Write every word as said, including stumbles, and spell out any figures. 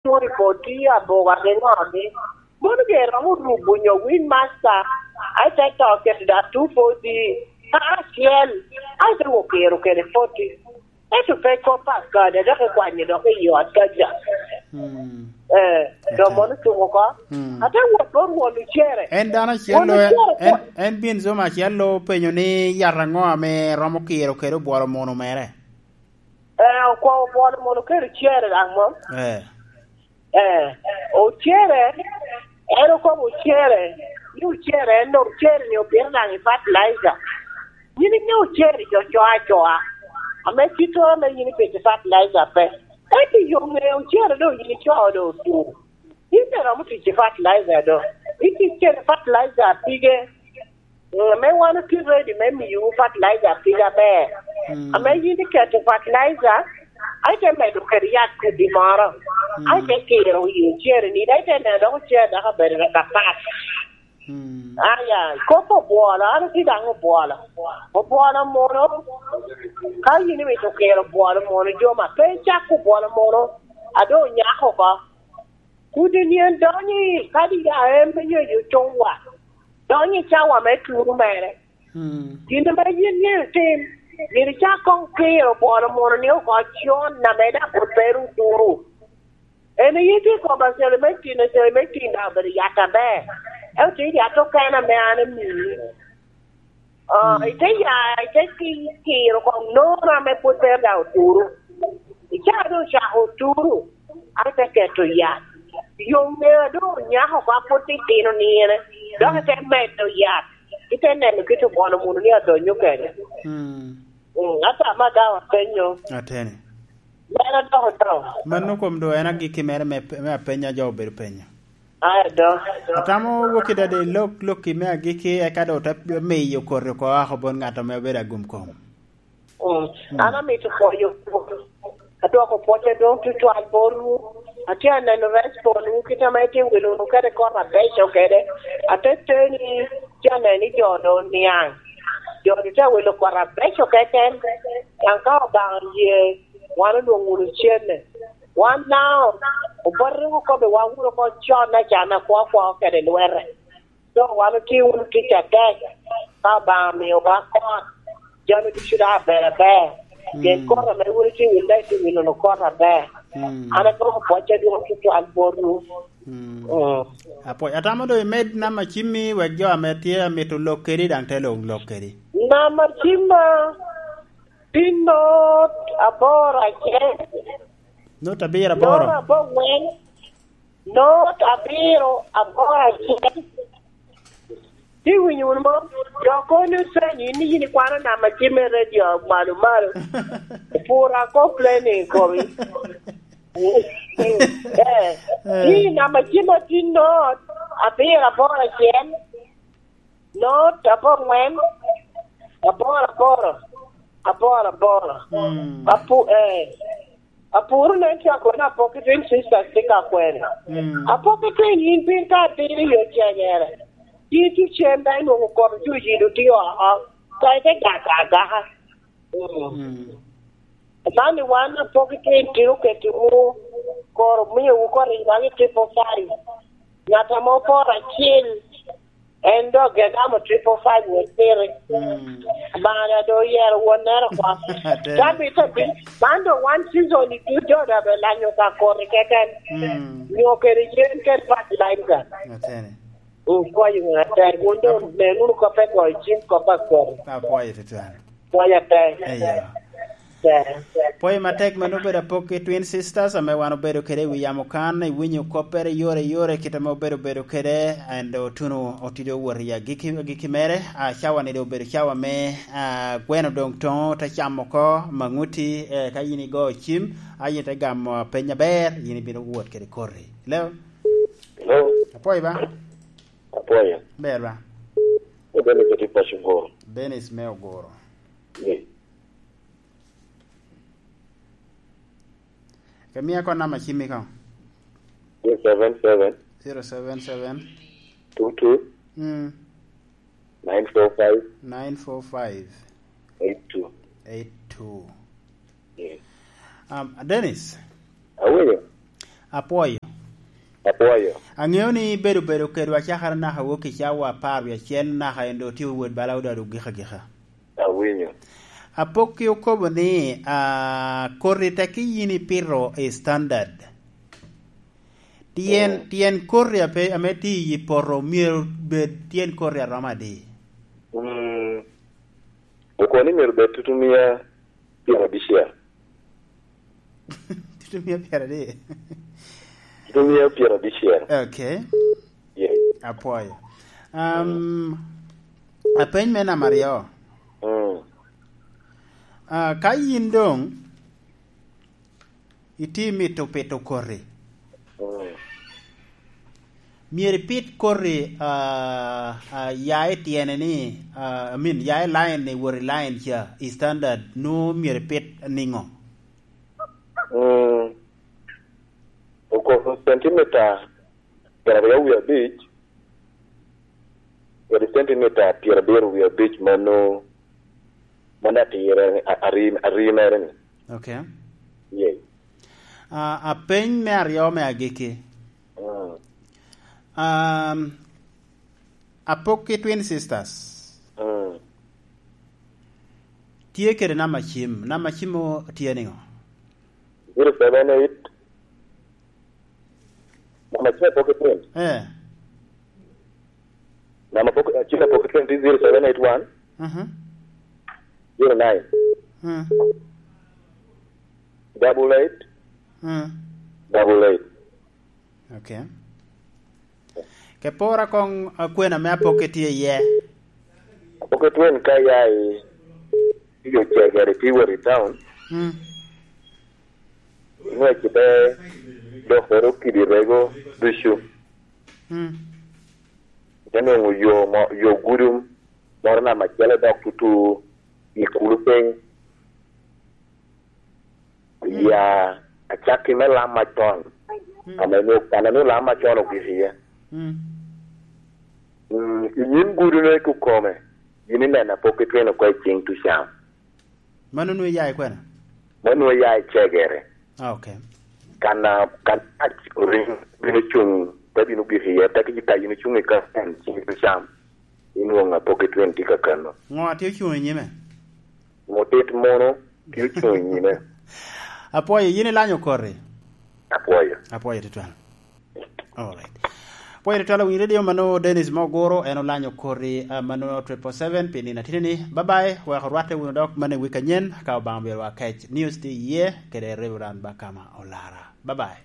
Two report i aboga gi ŋogi. Mono ge romo rubo nyo win master, ai te to kede da two forty, kara acel, ai te wo kero kede forty. Ento pe kop akada, dok ikwanyo dok i ot kaca. Mm. Eh, do Ate. Mono tuko ko. Mm. Ate wot bot won ocere. En dano acel Won lo, ocere en, ko- en bin zoma acel lo penyo ni yat aŋo ame romo kiro kede obwolo mono mere? Eh, okwa obwolo mono kede ocere daŋ mo. Eh. Eh, ocere, en okobo ocere, ni ocere, en ocere ni opito daŋ i fertilizer. Yin inyo ocere jo coa acoa, ame cito ame yin ipito i fertilizer pe. Ento yo ŋe ocere doŋ yin icoo doŋ otur. Yin pe romo tic i fertilizer doŋ. Itic kede fertilizer pige. Mm, ame wan otye ready me miyowu fertilizer pig aber. Mm. Ame yin iketo fertilizer, ai te medo kede yat kodi moro. Mm. Ai te kiro i ocere ni, ai te neno dok ocere dok obedo dok apat. Mm. Aya, kop obwolo, an otye daŋ obwolo. Obwolo mono, ka yin imito kiro obwolo mono, jo ma pe icako obwolo mono, a doŋ onyako oko. Kudi nien donyo i kadi ya en me nyeyo coŋwa, donyo i cawa me turu mere. Mm. Gin ame yin myero itim, myero icak koŋ kiro bwolo mono ni oko con ame daŋ pwod pe ru turu. En aye tye i koma celementin, celementin daŋ obedo yat aber. Ento tye yat okene ame an amii. Ah, mm, ite ya, ite ki-, kiro koŋ nono ame pwod pe daŋ oturu. Icaa doŋ ocako oturu, an te keto yat. Yo ŋeo doŋ onyako oko, a pwod titino nino, dok ite medo yat. Ite neno kit obwolo munu ni adonyo kede. Mm. Mm, ata ma daŋ apenyo. Ateni. Mera dok odongo. Mano kom do en agikki mere me, me apenya jo obedo penyo. Ai, do. Atamo wok i dade lok, lokki me agikki, eka do te miyo koti oko oko bot ŋat ame obedo agum kom. Mm. Mm. An amito pwoyo, adwoko pwoc adwoŋ tutwal botwu. Atye aneno respond wu kit ame itye wilo wunu kede kor abeco kede. Ate teni, tye aneno ni jo doŋ oniaŋ. Jo doŋ tye awilo kor abeco keken. Daŋ ka Obaŋa oye, wan onwoŋo wunu cene. Wan daŋ obote rik okobbiwa wunu oko con acana kwo kwo kede lwete. Dok wan otye wunu tic atek, ka Obaŋa omiowa kot, jami ducu daŋ aber aber. Pien mm, kot ame wun itye wunu daŋ itye wunu kot aber. Mm. An agommo pwoc adwoŋ tutwal botwu. Mm. Mm. Apwoc. Atamo doŋ imed namba cimmi wek jo ame tye amito lok kedi daŋ te lok lok kedi. Namba cimma, pin not aboro acel. Not abiro aboro. Not abongwen. Not abiro aboro acel. Ti winyo wunu mo? Jo kono ipenyo, in ni yin ikwano namba cim me redio malo malo. Pura complaining komi. Eh, eh, ni namba cim atin not abiro aboro acel. Not abongwen, aboro aboro, aboro aboro. Mm. Apu-, eh, apuro nen tye akwene Apoki Twin Sisters tye ka kwene. Mm. Apoki Twin yin piny ka atiro i yo cenyere. Yin tye cen daŋ inwoŋo kot ojuc i dutio oko. Ka ite gaka agaka. Mm. Mm. Man ni wan Apoki Twin tye okettiwu, koro omiowu kor i bagi triple five. Ŋat ame oporo acel, en dok gegamo triple five wot piri. Mm. Bana do oyero wonnere oko. Ate. Tabita bi, man do one season i dud jo da be lanyo ka kori keken. Mm. Nyo kede yen kede fertilizer. Atene. Mm, pwoyo ŋa tek, wun doŋ nen wunu kop pe goyo cim, kop akori. Apwoyo tutwal. Pwoyo atek. Eyo. Tek. Pwoyo matek mano obedo Apoki Twin Sisters, ame wan obedo kede i wi yamo kan, iwinyo koppere yore yore, kit ame obedo bedo kede, and otuno otido wot i agikki, agikki mere. Ah, cawa ni doŋ obedo cawa me, ah, gweno doŋ toŋo, te camo oko, maŋuti, eh, ka yin igo cim, a yin ite gamo peny aber, yin ibino wot kede koti. Hello? Hello? Apwoyo ba? Apwoyo. Ber ba? Dennis ati paco Ogoro. Dennis me Ogoro. Ye. Ke mia ko namba cimmi ko. Zero seven seven. Zero seven seven. Two two. Mm. Nine four five. Nine four five. Eight two. Eight two. Yes. Um, Dennis. Awinyo. Apwoyo. Apwoyo. Aŋeo ni bedo bedo kedwa cakere naka wok i cawa apar wie acel naka en doŋ tye wot bala odado gika gika. Awinyo. Apok ki okobo ni, ah, koti tek yin ipito i standard. Tyen, mm, tyen koti ape, ame tye i poto myero bed tyen koti aromo adi? Mm. Okobo ni myero bed tutumia pyerabicel. Tutumia pyerabicel. Tutumia pyerabicel. Okay. Yeah. Apwoyo. Um, apeny me namba aryo. Mm. Ah, ka yin doŋ itye mito pito koti, mm, myero ipit koti, ah, ah, ya i tyene ni, ah, I mean, ya i line ni wot i line ca, i standard, nwoŋo myero ipit niŋo? Mm. Okobo centimeter pyeraryo wie abic, kede centimeter pyerabiro wie abic mano, mano atire, a-, arim-, arimere ni. Okay. Yes. Ah, apeny me aryo me agikki. Mm. Um, Apok ki Twin Sisters. Mm. Tye kede namba cim. Namba cim o-, tye niŋo? Zero seven eight. Namba cim apok ki Twin. Eh. Namba apok, cim apok ki Twin tye zero seven eight one. Mhm. Zero nine. Mm. Double eight. Mm. Double eight. Okay. Ke pora koŋ, ah, kwena me apokke tye iye. Apokke twen ka ya i, i yo cegere tye wot i town. Mm. Inwec kite dokoro kidi rego ducu. Mm. Ite nwoŋo yo mo, yo gudum moro namba acel dok tutu i kulu piny. Mm. Ya, acakki me lam macon. Mm. Ame nwoŋo, kan anwoŋo lam macon ogik iye. Mm. Mm, i nyim gudo-nu i kukome, yin ineno apokke tweno oko i ciŋ tucan. Mano nwoŋo iya i kwena? Mano nwoŋo iya i cegere. Ah, okay. Kan a, kan ac orin bino cuŋ, te bino gik iye, te ki ka yin ocuŋ i kaken ciŋ tucan, inwoŋo apokke twen tye kakano. Ŋo a tye ocuŋ i nyime? Mutit mono tye ocuŋ i nyime. Apwoyo, yin ilanyo koti? Apwoyo. Apwoyo tutwal. Alright. Apwoyo tutwal, awinyo redio mano Dennis Moguro, en olanyo koti, ah, mano triple seven pi nino atini ni. Bye bye, wek orwatte wunu dok mano i wik anyen, ka Obaŋa obyelo wa kec. News tye iye, kede Reverend Bakama Olara. Bye bye.